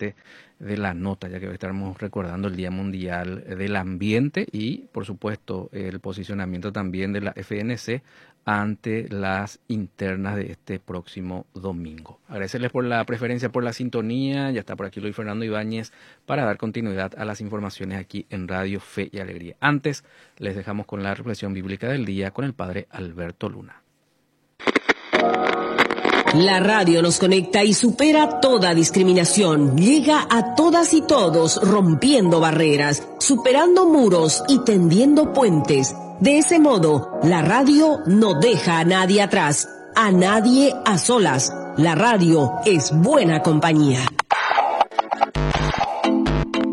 parte de la nota, ya que hoy estamos recordando el Día Mundial del Ambiente y, por supuesto, el posicionamiento también de la FNC ante las internas de este próximo domingo. Agradecerles por la preferencia, por la sintonía. Ya está por aquí Luis Fernando Ibáñez para dar continuidad a las informaciones aquí en Radio Fe y Alegría. Antes, les dejamos con la reflexión bíblica del día con el padre Alberto Luna. La radio nos conecta y supera toda discriminación. Llega a todas y todos, rompiendo barreras, superando muros y tendiendo puentes. De ese modo, la radio no deja a nadie atrás, a nadie a solas. La radio es buena compañía.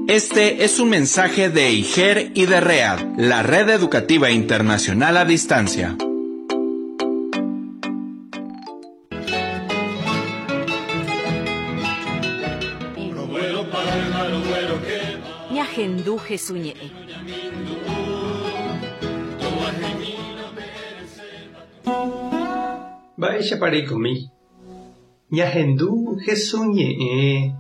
Este es un mensaje de IGER y de READ, la Red Educativa Internacional a Distancia. Ñahendu Hesu ñe'ẽ. Mba'éichapa reikomi? Ñahendu Hesu ñe'ẽ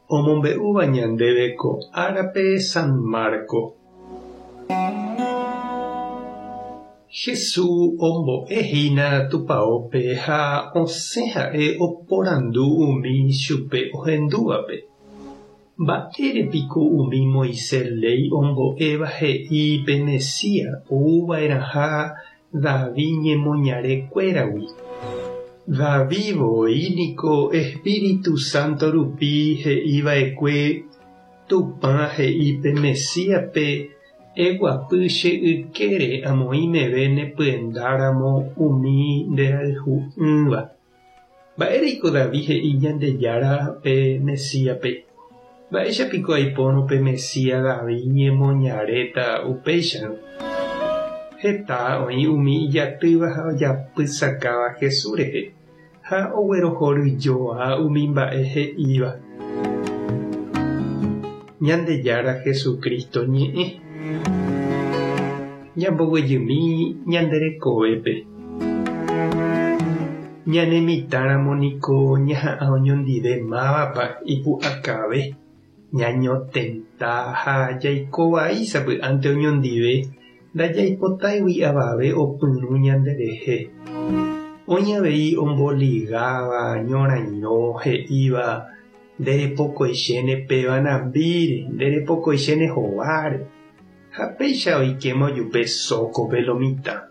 omombe'úva ñandéve ko árape San Marco. Hesu ombo'e hína tupaópe ha osẽ ha'e oporandu umi chupe ohendúvape. Mba'ére piko umi Moisés léi ombo'éva he'i pe Mesías ou va'erãha David ñemoñare kuéragui? David voi niko Espíritu Santo rupi he'i va'ekue, Tupã he'i pe Mesíaspe, Eguapy che ykére amoĩ meve ne pyenda ramo umi nde rayhu'ỹva. Mba'éreiko David he'i Ñandejára pe Mesíaspe? Mba'éicha piko aipórõ pe Mesías David ñemoñaréta upéicharõ? Heta oĩ umi ijatýva ha ojapysakáva Jesús rehe, ha oguerohoryjoa umi mba'e he'íva. Ñandejára Jesucristo ñe'ẽ. Ñamboguejymi ñande rekovépe. Ñane mitãramo niko ñaha'ã oñondive mávapa ipu'akave, ñañotenta ha jaiko vai sapy'ánte oñondive ndajaipotáigui avave opyrũ ñanderehe. Oĩ avei omboligáva ñorairõ he'íva nderepokoichéne péva nambíre, nderepokoichéne hováre, ha péicha oikéma ojupe sókope lo mitã.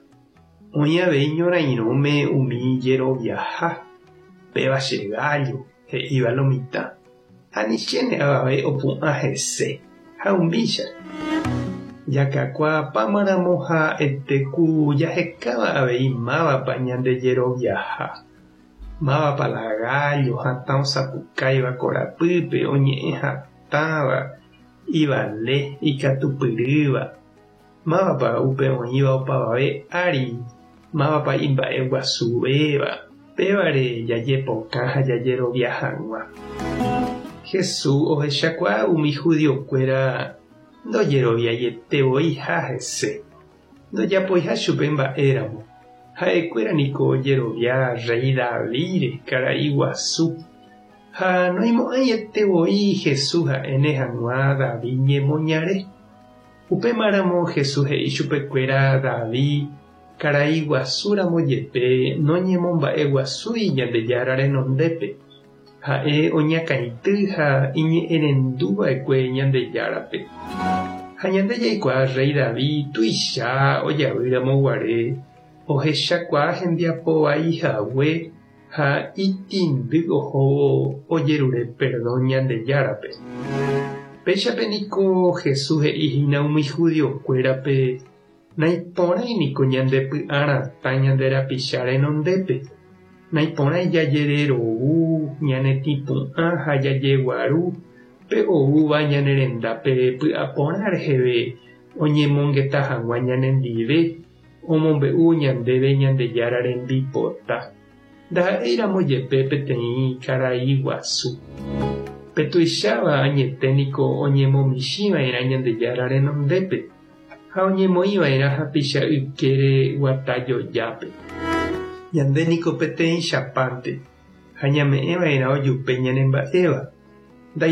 Oĩ avei ñorairõme umi jeroviaha, péva che gállo, he'íva lo mitã, anichéne avave opu'ã hese, ha umícha. Jakakuaapámaramo ha'ete ku jahekáva avei mávapa ñande jeroviaha, mávapa la gállo hatã osapukáiva korapýpe oñe'ẽ hatãva, ivale, ikatupyrýva. Mávapa upe oĩva opavave ári, mávapa imba'e guasuvéva, pévare jajepokã ha jajerovia hag̃ua. Jesús ohechakuaa umi judiokuéra ndojeroviaiete voiha hese, ndojapoiha chupe mba'éramo. Ha'ekuéra niko ojerovia rréi Davídre, karai guasu. Ha noimo'ãiete voi Jesús ha'éne hag̃ua David ñemoñare. Upémaramo Jesús he'i chupekuéra David karai guasu ramo jepe noñemomba'eguasúi Ñandejára renondépe, ha'e oñakãity ha iñe'ẽrendu va'ekue Ñandejárape. Ha ñande jaikuaa rréi David tuicha ojavy ramo guare ohechakuaa hembiapo vai hague ha itĩndy ohóvo ojerure perdón Ñandejárape. Péichape niko Jesús he'i hína umi judiokuérape, Naiporãi niko ñande py'a ratã ñande rapicha renondépe, naiporãi jajererovu, ñane tĩpu'ã ha jajeguaru pe oúva ñane rendápe py'aporã reheve oñemongeta hag̃ua ñanendive, omombe'u ñandéve Ñandejára rembipota. Ndaha'éiramo jepe peteĩ karai guasu. Pe tuicháva añete niko oñemomichĩva'erã Ñandejára renondépe ha oñemoĩva'erã hapicha ykére guata jojápe. Ñande niko peteĩchapánte ha ñame'ẽva'erã ojupe ñanemba'éva.